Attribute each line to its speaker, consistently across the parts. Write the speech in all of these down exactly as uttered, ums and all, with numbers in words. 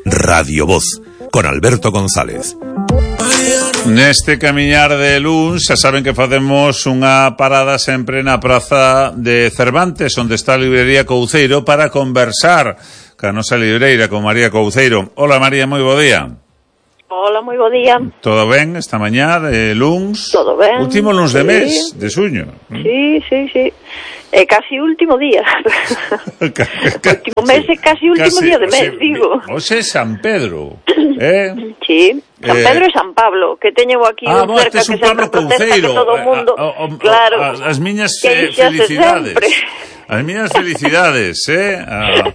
Speaker 1: Radio Voz, con Alberto González.
Speaker 2: Neste camiñar de luns, xa saben que facemos unha parada sempre na praza de Cervantes, onde está a librería Couceiro, para conversar ca nosa libreira con María Couceiro. Hola María, moi bo día.
Speaker 3: Hola, moi bo día.
Speaker 2: Todo ben esta mañá de luns?
Speaker 3: Todo ben.
Speaker 2: Último luns de
Speaker 3: sí.
Speaker 2: mes, de suño.
Speaker 3: Sí, sí, sí. É casi último día. Último mes é casi último casi, día de mes, o sea, digo.
Speaker 2: Hoxe é San Pedro, eh?
Speaker 3: Sí, San eh... Pedro e San Pablo, que teño aquí
Speaker 2: ah,
Speaker 3: un cerca que sempre protesta que todo o mundo...
Speaker 2: A, a, a,
Speaker 3: claro.
Speaker 2: A, as miñas eh, felicidades. As miñas felicidades, eh? A,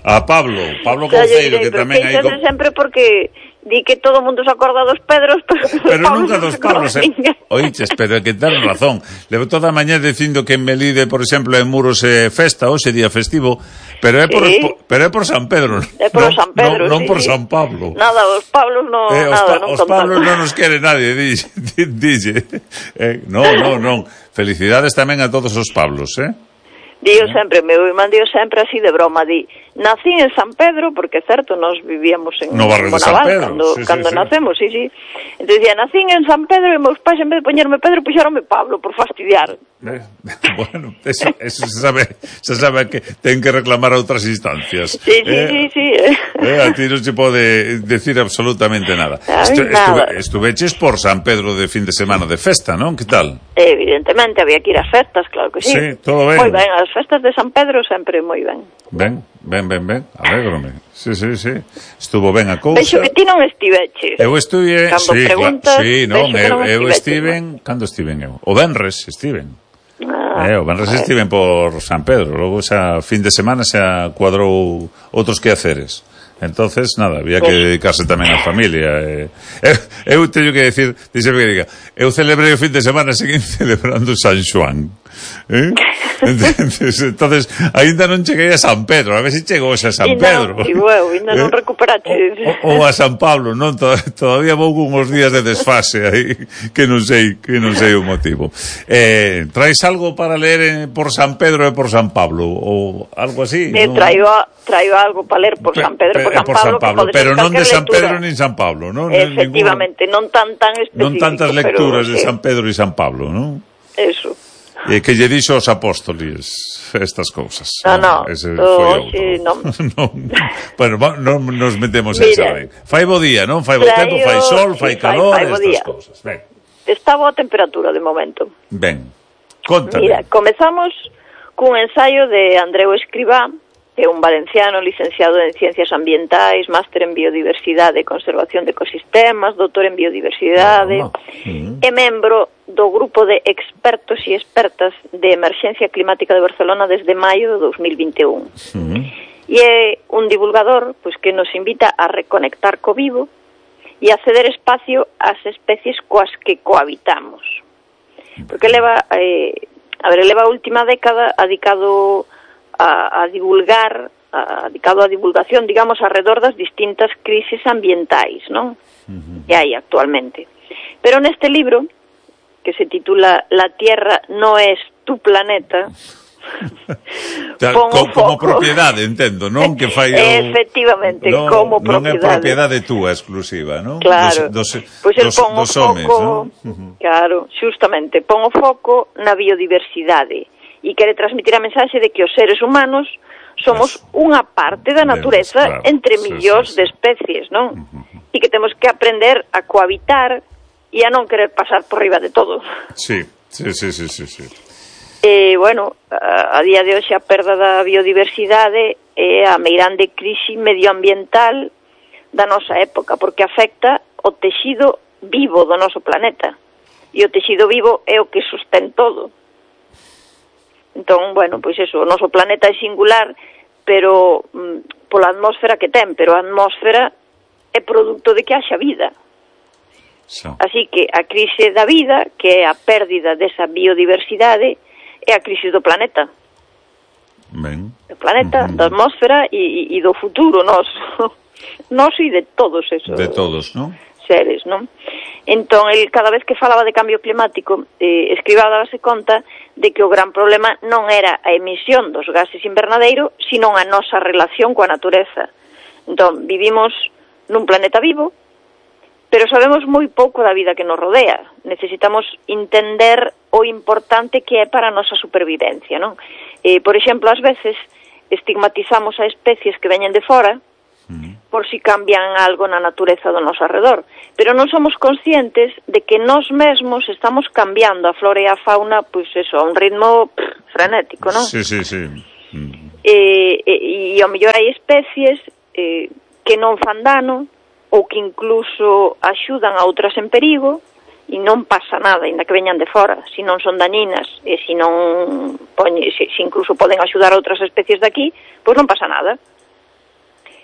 Speaker 2: a Pablo, Pablo Couceiro, que tamén hai...
Speaker 3: Pero que sempre porque... Di que todo o mundo se acorda dos Pedros, pero,
Speaker 2: pero nunca dos Pablos, eh? Oiches, pero é que ten razón. Levo toda a mañá dicindo que en Melide, por exemplo, en Muros é festa, hoxe día festivo, pero é por, sí. pero é por San Pedro.
Speaker 3: É por
Speaker 2: non,
Speaker 3: San Pedro,
Speaker 2: non, non
Speaker 3: sí,
Speaker 2: por
Speaker 3: sí.
Speaker 2: San Pablo.
Speaker 3: Nada, os Pablos no,
Speaker 2: eh,
Speaker 3: nada,
Speaker 2: os,
Speaker 3: non
Speaker 2: os Pablos non nos quere nadie, dixe. dixe. Eh, non, non, non. Felicidades tamén a todos os Pablos, eh?
Speaker 3: Dío sempre, meu irmán dío sempre así de broma, di, nací en San Pedro, porque é certo, nos vivíamos en
Speaker 2: no barrio de San Pedro,
Speaker 3: cando,
Speaker 2: sí,
Speaker 3: cando
Speaker 2: sí,
Speaker 3: nacemos, sí, sí. Entón dicía, nací en San Pedro e meus pais, en vez de poñerme Pedro, puxeronme Pablo, por fastidiar.
Speaker 2: Eh, bueno, eso, eso se sabe, se sabe que ten que reclamar a outras instancias.
Speaker 3: Sí, sí,
Speaker 2: eh,
Speaker 3: sí, sí. Eh.
Speaker 2: Eh, a ti non se pode decir absolutamente nada.
Speaker 3: Estu,
Speaker 2: nada. Estuve, estuveches por San Pedro de fin de semana de festa, non? Que tal?
Speaker 3: Evidentemente, había que ir ás festas, claro que sí.
Speaker 2: Sí, todo ben.
Speaker 3: Moi ben, as festas de San Pedro sempre moi ben.
Speaker 2: Ben, ben, ben, ben, alégrome. Sí, sí, sí. Estuvo ben a cousa.
Speaker 3: Vexo que ti non estiveches.
Speaker 2: Eu estuve,
Speaker 3: cando
Speaker 2: sí,
Speaker 3: preguntas,
Speaker 2: claro, sí, non, eu,
Speaker 3: non
Speaker 2: eu estiven, ¿no? Cando estiven eu? O Benres estiven.
Speaker 3: Ah,
Speaker 2: eh, o Benres estiven por San Pedro, logo xa fin de semana xa cuadrou outros quehaceres. Entonces, nada, había que dedicarse tamén á familia. Eh. Eu, eu teño que decir, dixeme que diga, eu celebrei o fin de semana, seguín celebrando San Xoán. Eh? Entonces, entonces, ainda non cheguei a San Pedro, a ver se chegou xa a San Pedro.
Speaker 3: E non, igual, ainda non recuperaste.
Speaker 2: Ou a San Pablo, non? Todavía vou con uns días de desfase aí, que non sei, que non sei o motivo. Eh, traes algo para ler por San Pedro e por San Pablo? Ou algo así?
Speaker 3: Eh,
Speaker 2: ¿no?
Speaker 3: Traigo, traigo algo para ler por San Pedro e por San
Speaker 2: por
Speaker 3: Pablo,
Speaker 2: San Pablo
Speaker 3: que
Speaker 2: pero non de San
Speaker 3: lectura.
Speaker 2: Pedro nin San Pablo, non?
Speaker 3: Efectivamente, ningún, non tan tan específico.
Speaker 2: Non tantas lecturas
Speaker 3: pero,
Speaker 2: de
Speaker 3: sí.
Speaker 2: San Pedro e San Pablo, non?
Speaker 3: Eso.
Speaker 2: E que lle dixo aos apóstoles estas cousas.
Speaker 3: No, no,
Speaker 2: ese
Speaker 3: no
Speaker 2: foi
Speaker 3: sí, non.
Speaker 2: non. Bueno, non nos metemos
Speaker 3: Mira,
Speaker 2: en saber. Fai bo día, non? Fai bo tempo, fai sol, fai sí, calor, fai, fai estas cousas. Ben.
Speaker 3: Está boa temperatura de momento.
Speaker 2: Ben. Contame.
Speaker 3: Mira, comezamos cun ensaio de Andreu Escribá, que é un valenciano licenciado en Ciencias Ambientais, máster en Biodiversidade e Conservación de Ecosistemas, doutor en Biodiversidade, oh, uh-huh. e membro do grupo de expertos e expertas de Emerxencia Climática de Barcelona desde maio de dos mil vinte e un. Uh-huh. E é un divulgador pois, que nos invita a reconectar co vivo e a ceder espacio ás especies coas que cohabitamos. Porque leva, eh, a ver, leva a última década dedicado a, a divulgar, a, dedicado a divulgación, digamos, alrededor das distintas crisis ambientais, non? Uh-huh. Que hai actualmente. Pero neste libro, que se titula La Tierra no es tu planeta,
Speaker 2: como, como propiedade, entendo, non? Que fai o...
Speaker 3: Efectivamente,
Speaker 2: no,
Speaker 3: como
Speaker 2: Non
Speaker 3: propiedade.
Speaker 2: é propiedade túa exclusiva, non?
Speaker 3: Claro.
Speaker 2: Dos, dos,
Speaker 3: pois el
Speaker 2: dos,
Speaker 3: pon o
Speaker 2: dos
Speaker 3: foco,
Speaker 2: homes, non? Uh-huh.
Speaker 3: Claro, xustamente, pon o foco na biodiversidade e quere transmitir a mensaxe de que os seres humanos somos Eso. unha parte da natureza claro, entre millóns sí, sí, sí. de especies, non? Uh-huh. E que temos que aprender a cohabitar e a non querer pasar por riba de todo.
Speaker 2: Sí, sí, sí, sí, sí, sí.
Speaker 3: E, bueno, a, a día de hoxe a perda da biodiversidade é a meirande crise medioambiental da nosa época, porque afecta o texido vivo do noso planeta. E o texido vivo é o que sostén todo. Entón, bueno, pois eso, o noso planeta é singular, pero mm, pola atmósfera que ten, pero a atmósfera é produto de que haxa vida. So. Así que a crise da vida, que é a pérdida desa biodiversidade, é a crise do planeta.
Speaker 2: Ben.
Speaker 3: Do planeta, uh-huh. da atmósfera e, e do futuro noso. Noso e de todos esos.
Speaker 2: De todos, non?
Speaker 3: Seres, non? Entón, el cada vez que falaba de cambio climático, eh, Escribá dábase conta de que o gran problema non era a emisión dos gases invernadeiro, sino a nosa relación coa natureza. Entón, vivimos nun planeta vivo, pero sabemos moi pouco da vida que nos rodea. Necesitamos entender o importante que é para a nosa supervivencia, non? Eh, por exemplo, ás veces estigmatizamos a especies que veñen de fora por si cambian algo na natureza do noso arredor, pero non somos conscientes de que nós mesmos estamos cambiando a flora e a fauna, pois eso, a un ritmo pff, frenético, non?
Speaker 2: Sí, sí, sí. Mm.
Speaker 3: E, e, e ao mellor hai especies eh, que non fan dano ou que incluso axudan a outras en perigo e non pasa nada, ainda que veñan de fora, se non son dañinas e se non poñe, se, se incluso poden axudar a outras especies de aquí, pois non pasa nada.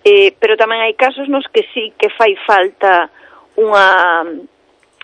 Speaker 3: Eh, pero tamén hai casos nos que sí que fai falta unha,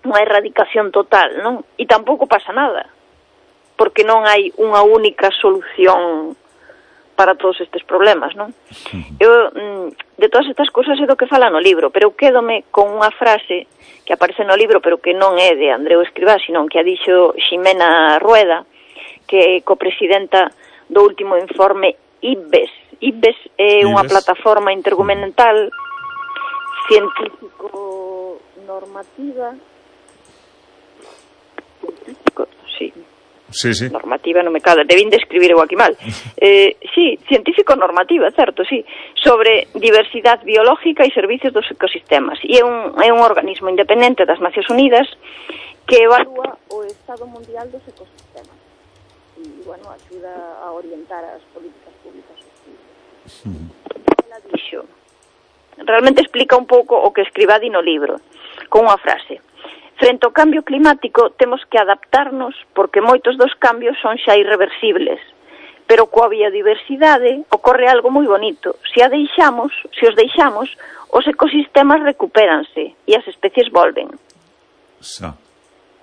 Speaker 3: unha erradicación total, non? E tampouco pasa nada, porque non hai unha única solución para todos estes problemas, non? Eu, de todas estas cousas é do que fala no libro, pero eu quédome con unha frase que aparece no libro, pero que non é de Andreu Escrivá, sino que a dixo Ximena Rueda, que é copresidenta do último informe I B E S. I B E S é unha plataforma intergubernamental científico-normativa científico, sí.
Speaker 2: Sí, sí.
Speaker 3: Normativa, non me cala, debín de escribir eu aquí mal. Eh, sí, científico-normativa, certo, sí, sobre diversidade biológica e servicios dos ecosistemas. E é un, é un organismo independente das Nacións Unidas que evalúa o estado mundial dos ecosistemas. E, bueno, axuda a orientar as políticas públicas. Ela dixo, realmente explica un pouco o que Escrivá di no libro, con unha frase: frente ao cambio climático temos que adaptarnos porque moitos dos cambios son xa irreversibles, pero coa biodiversidade ocorre algo moi bonito. Se a deixamos, se os deixamos, os ecosistemas recupéranse e as especies volven.
Speaker 2: Xa.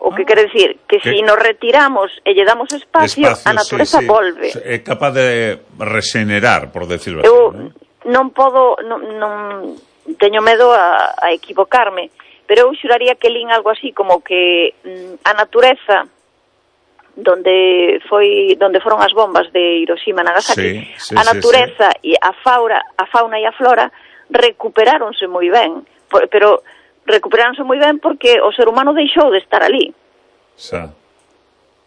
Speaker 3: O que ah, quere decir que se si nos retiramos e lle damos espacio, espacio a natureza sí, sí. volve.
Speaker 2: É capaz de regenerar, por decirlo así.
Speaker 3: Eu
Speaker 2: non,
Speaker 3: non podo, non, non teño medo a, a equivocarme, pero eu xuraría que lín algo así como que mm, a natureza donde foi donde foron as bombas de Hiroshima e Nagasaki, sí, sí, a natureza sí, sí. e a fauna, a fauna e a flora recuperáronse moi ben, pero recuperáronse moi ben porque o ser humano deixou de estar ali.
Speaker 2: Xa.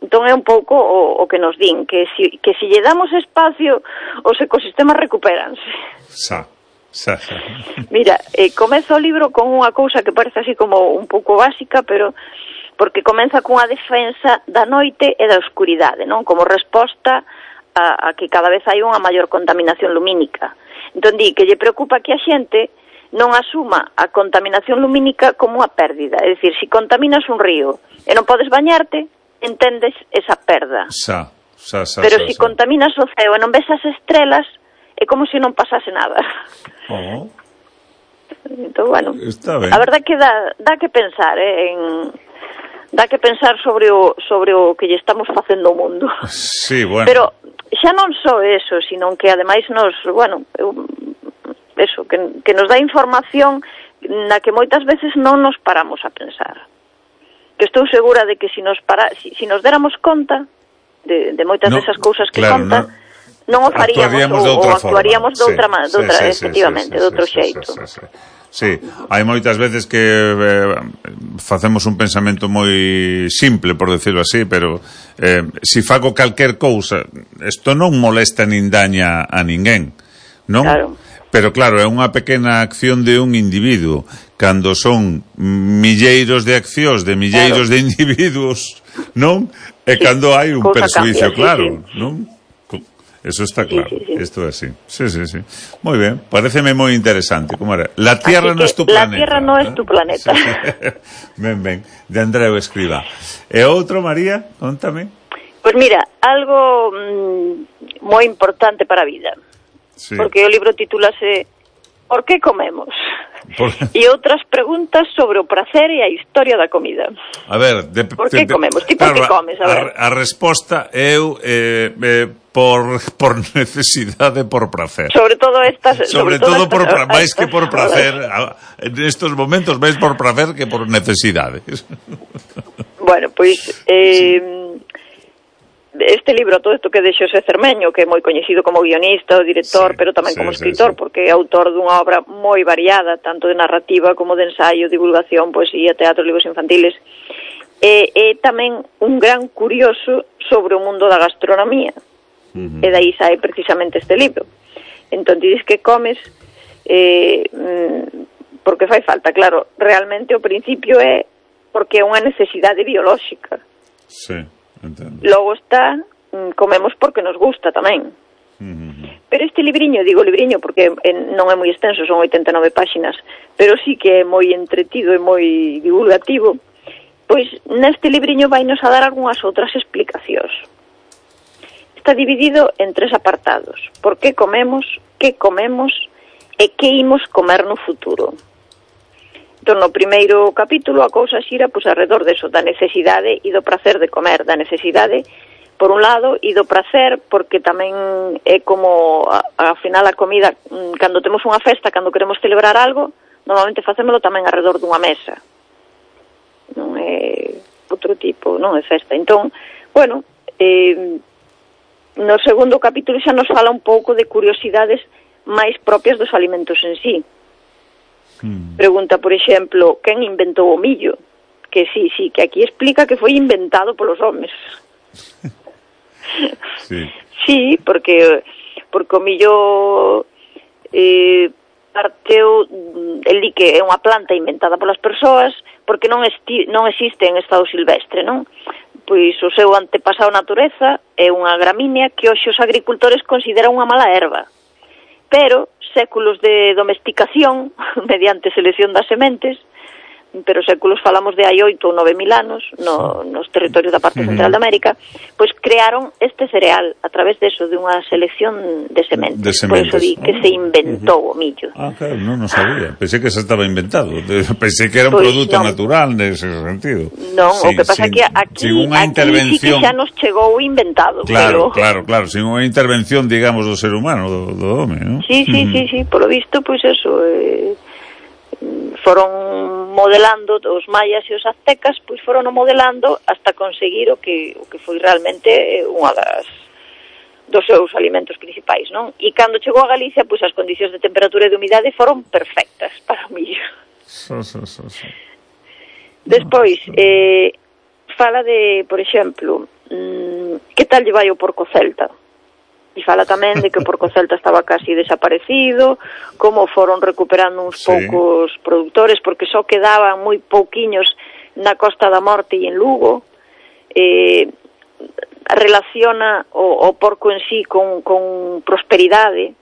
Speaker 3: Entón é un pouco o, o que nos din, que si, que si lle damos espacio, os ecosistemas recupéranse.
Speaker 2: Xa, xa, xa.
Speaker 3: Mira, eh, comeza o libro con unha cousa que parece así como un pouco básica, pero porque comeza cunha defensa da noite e da oscuridade, non? Como resposta a, a que cada vez hai unha maior contaminación lumínica. Entón di que lle preocupa que a xente non asuma a contaminación lumínica como unha pérdida. É dicir, se contaminas un río e non podes bañarte, entendes esa perda.
Speaker 2: Xa, xa, xa,
Speaker 3: pero
Speaker 2: xa,
Speaker 3: se
Speaker 2: xa.
Speaker 3: contaminas o ceo e non ves as estrelas, é como se non pasase nada.
Speaker 2: Oh.
Speaker 3: Entón, bueno,
Speaker 2: está ben.
Speaker 3: A verdade que dá, dá que pensar, eh, en, dá que pensar sobre o, sobre o que lle estamos facendo ao mundo.
Speaker 2: Sí, bueno.
Speaker 3: Pero xa non só eso, sino que ademais nos, bueno, eu, eso, que, que nos dá información na que moitas veces non nos paramos a pensar. Que estou segura de que si nos, para, si, si nos déramos conta de, de moitas no, desas cousas que
Speaker 2: claro,
Speaker 3: conta,
Speaker 2: no,
Speaker 3: non o faríamos ou, ou actuaríamos de outra,
Speaker 2: sí,
Speaker 3: de outra
Speaker 2: sí,
Speaker 3: efectivamente,
Speaker 2: sí, sí,
Speaker 3: de outro
Speaker 2: sí,
Speaker 3: xeito.
Speaker 2: Sí, sí, sí. Sí, hai moitas veces que eh, facemos un pensamento moi simple, por decirlo así, pero eh, si fago calquer cousa, isto non molesta nin daña a ninguén, non?
Speaker 3: Claro.
Speaker 2: Pero claro, é unha pequena acción de un individuo. Cando son milleiros de accións de milleiros claro. de individuos, non? E sí, cando hai un persuicio cambia, claro, sí, sí. non? Eso está claro, sí, sí, sí. Esto es así. Sí, sí, sí. Muy bien, pareceme muy interesante. ¿Cómo era? La Tierra no es tu planeta.
Speaker 3: La Tierra no es tu planeta.
Speaker 2: Sí, sí. Ven, ven, de Andreu Escrivá. ¿E outro, María? Contame.
Speaker 3: Pues mira, algo mmm, moi importante para a vida. Sí. Porque o libro titúlase ¿Por qué comemos? Por... E outras preguntas sobre o prazer e a historia da comida.
Speaker 2: A ver, de,
Speaker 3: por que
Speaker 2: de,
Speaker 3: comemos? Ti por que comes? A, ver.
Speaker 2: a, a resposta eu eh, eh, por, por necesidade, por prazer.
Speaker 3: Sobre todo estas...
Speaker 2: Sobre, sobre todo por pra, máis que por prazer. En estos momentos máis por prazer que por necesidade.
Speaker 3: Bueno, pois... Eh, sí. este libro, todo isto que de Xosé Cermeño, que é moi coñecido como guionista, o director,
Speaker 2: sí,
Speaker 3: pero tamén
Speaker 2: sí,
Speaker 3: como
Speaker 2: sí,
Speaker 3: escritor,
Speaker 2: sí.
Speaker 3: porque é autor dunha obra moi variada, tanto de narrativa como de ensaio, divulgación, poesía, teatro, libros infantiles. E é tamén un gran curioso sobre o mundo da gastronomía. Uh-huh. E daí sai precisamente este libro. Entón, dices que comes eh, porque fai falta, claro, realmente o principio é porque é unha necesidade biolóxica.
Speaker 2: Sí, entendo.
Speaker 3: Logo está, comemos porque nos gusta tamén. Uh-huh. Pero este libriño, digo libriño porque non é moi extenso, son oitenta e nove páxinas, pero sí que é moi entretido e moi divulgativo, pois neste libriño vai nos a dar algunhas outras explicacións. Está dividido en tres apartados: por que comemos, que comemos e que imos comer no futuro. Entón, no primeiro capítulo a cousa xira pois alrededor deso, da necesidade e do prazer de comer, da necesidade por un lado e do prazer porque tamén é como ao final a comida, cando temos unha festa, cando queremos celebrar algo, normalmente facémolo tamén alrededor dunha mesa, non é outro tipo, non é festa. Entón, bueno, eh, no segundo capítulo xa nos fala un pouco de curiosidades máis propias dos alimentos en sí. Mm. Pregunta, por exemplo, quen inventou o millo? Que sí, sí, que aquí explica que foi inventado polos homes. Sí. Sí, porque porque o millo eh, parteu, el di que é unha planta inventada polas persoas porque non, esti, non existe en estado silvestre, non? Pois o seu antepasado natureza é unha gramínea que hoxe os agricultores consideran unha mala erva. Pero séculos de domesticación, mediante selección das sementes, pero séculos falamos de hai oito ou nove mil anos, no, nos territorios da parte central de América, pois crearon este cereal a través deso, de unha selección de sementes.
Speaker 2: De sementes.
Speaker 3: Por eso di que se inventou o millo.
Speaker 2: Ah, claro, non, non sabía. Pensei que se estaba inventado. Pensei que era un
Speaker 3: pues
Speaker 2: produto
Speaker 3: non.
Speaker 2: natural nese sentido.
Speaker 3: Non,
Speaker 2: sin,
Speaker 3: o que pasa é que aquí, aquí sí que xa nos chegou inventado.
Speaker 2: Claro,
Speaker 3: pero...
Speaker 2: claro, claro. Sin unha intervención, digamos, do ser humano, do, do home, non?
Speaker 3: Sí, sí, sí, sí. Por lo visto, pois pues eso... Eh... foron modelando os mayas e os aztecas, pois foron modelando hasta conseguir o que o que foi realmente unha das dos seus alimentos principais, non? E cando chegou a Galicia, pois as condicións de temperatura e de humidade foron perfectas para o millo. So, so, so, so. Despois, eh, fala de, por exemplo, mmm, que tal lle vai o porco celta? E fala tamén de que o porco celta estaba casi desaparecido, como foron recuperando uns sí. poucos produtores, porque só quedaban moi pouquiños na Costa da Morte e en Lugo. Eh, relaciona o, o porco en sí con, con prosperidade.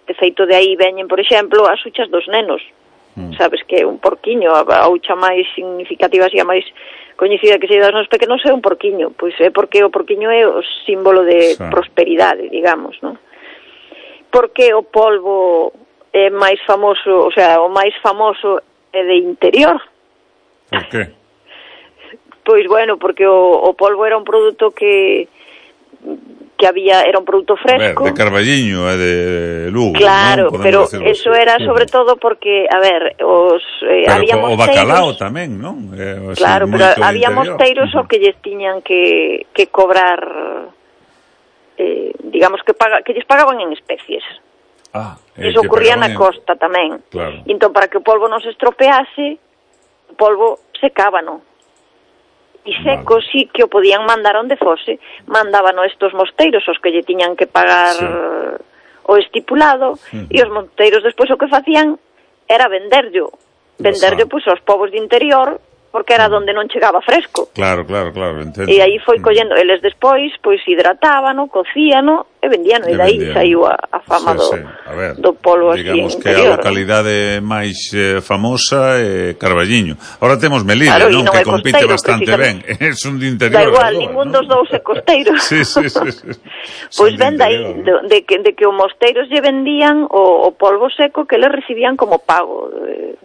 Speaker 3: De feito, de aí veñen, por exemplo, as huchas dos nenos. Mm. Sabes que un porquiño, a, a hucha máis significativa, así a máis coñecida que se das nos pequenos é un porquiño, pois é porque o porquiño é o símbolo de sí. prosperidade, digamos, non? Porque o polvo é máis famoso, o sea, o máis famoso é de interior.
Speaker 2: Por qué?
Speaker 3: Pois bueno, porque o, o polvo era un produto que que había, era un produto fresco.
Speaker 2: A ver, de Carballiño e de Lugo,
Speaker 3: claro,
Speaker 2: ¿no?
Speaker 3: Pero eso
Speaker 2: así.
Speaker 3: Era sobre todo porque, a ver, os eh,
Speaker 2: pero
Speaker 3: había
Speaker 2: o
Speaker 3: mosteiros...
Speaker 2: bacalao tamén, non? Eh,
Speaker 3: claro, pero había mosteiros o que lles tiñan que, que cobrar, eh, digamos, que paga, que lles pagaban en especies.
Speaker 2: Ah,
Speaker 3: eso ocurría na en... costa tamén.
Speaker 2: Claro.
Speaker 3: E entón, para que o polvo non se estropease, o polvo secábano. E seco, vale. Sí que o podían mandar onde fose, mandaban estos mosteiros os que lle tiñan que pagar sí. o estipulado, uh-huh. e os mosteiros despois o que facían era venderllo, venderllo pois aos povos de interior, porque era onde non chegaba fresco.
Speaker 2: Claro, claro, claro, entendo.
Speaker 3: E aí foi collendo, eles despois, pois hidratábano, cocíano e vendíano, e daí saiu a, a fama sí, do, sí. A ver, do polvo así
Speaker 2: digamos
Speaker 3: interior.
Speaker 2: Que a localidade máis eh, famosa é eh, Carballiño. Ahora temos Melide, claro, non? non que compite costeiro, bastante ben. É un de interior.
Speaker 3: Da igual, ningún dos dous é costeiro.
Speaker 2: sí, sí, sí, sí.
Speaker 3: Pois ven dai, de, de, que, de que os mosteiros lle vendían o, o polvo seco que eles recibían como pago. Eh,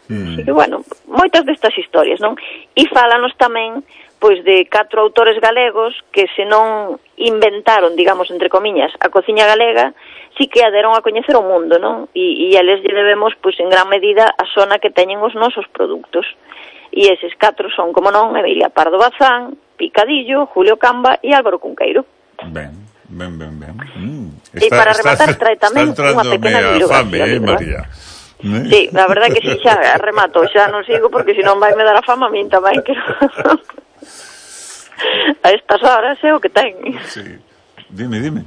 Speaker 3: Mm. Así que, bueno, moitas destas historias, non? E fálanos tamén, pois, de catro autores galegos que se non inventaron, digamos, entre comiñas, a cociña galega, si que a deron a coñecer o mundo, non? E, e eles lle debemos, pois, en gran medida a zona que teñen os nosos produtos. E eses catro son, como non, Emilia Pardo Bazán, Picadillo, Julio Camba e Álvaro Cunqueiro.
Speaker 2: Ben, ben, ben, ben. Mm.
Speaker 3: E para rematar trae tamén unha pequena bibliografía.
Speaker 2: Fame, eh, María?
Speaker 3: Sí, a verdade que si xa remato, xa non sigo porque senón vai me dar a fama a min tamén que a estas horas é o que ten.
Speaker 2: Sí. Dime, dime.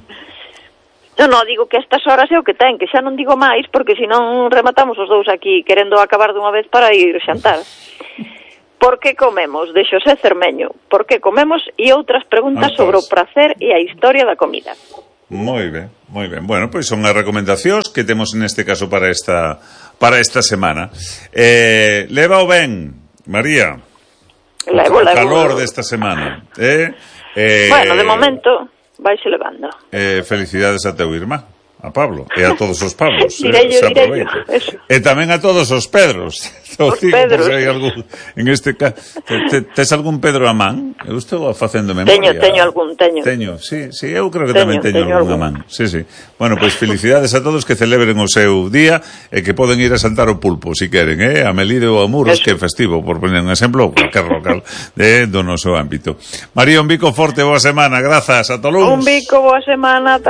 Speaker 3: Non, non, digo que a estas horas é o que ten, que xa non digo máis porque senón rematamos os dous aquí querendo acabar dunha vez para ir xantar. Por que comemos? De Xosé Cermeño. Por que comemos? E outras preguntas
Speaker 2: Antos.
Speaker 3: sobre o prazer e a historia da comida.
Speaker 2: Moi ben, moi ben. Bueno, pois son as recomendacións que temos neste caso para esta para esta semana. Eh, leva o ben, María.
Speaker 3: Levo,
Speaker 2: o
Speaker 3: levo.
Speaker 2: calor desta semana. Eh? Eh,
Speaker 3: Bueno, de momento vaise levando.
Speaker 2: Eh, felicidades a teu irmá, a Pablo, e a todos os Pablos.
Speaker 3: Dirello,
Speaker 2: eh,
Speaker 3: dirello, eso.
Speaker 2: E tamén a todos os Pedros.
Speaker 3: Os Pedros.
Speaker 2: Hai algún, en este caso, te, te, tes algún Pedro a man? Eu estou facendo
Speaker 3: Teño,
Speaker 2: memoria.
Speaker 3: teño algún, teño.
Speaker 2: Teño, sí, sí, eu creo que
Speaker 3: Teño,
Speaker 2: tamén teño,
Speaker 3: teño
Speaker 2: algún a
Speaker 3: algún.
Speaker 2: man. Sí, sí. Bueno, pois pues, felicidades a todos que celebren o seu día e que poden ir a saltar o pulpo, si queren, eh? A Melide ou a Muros, que é festivo, por poner un exemplo, cualquier local de, do noso ámbito. María, un bico forte, boa semana, grazas, a Tolúns.
Speaker 3: Un bico, boa semana.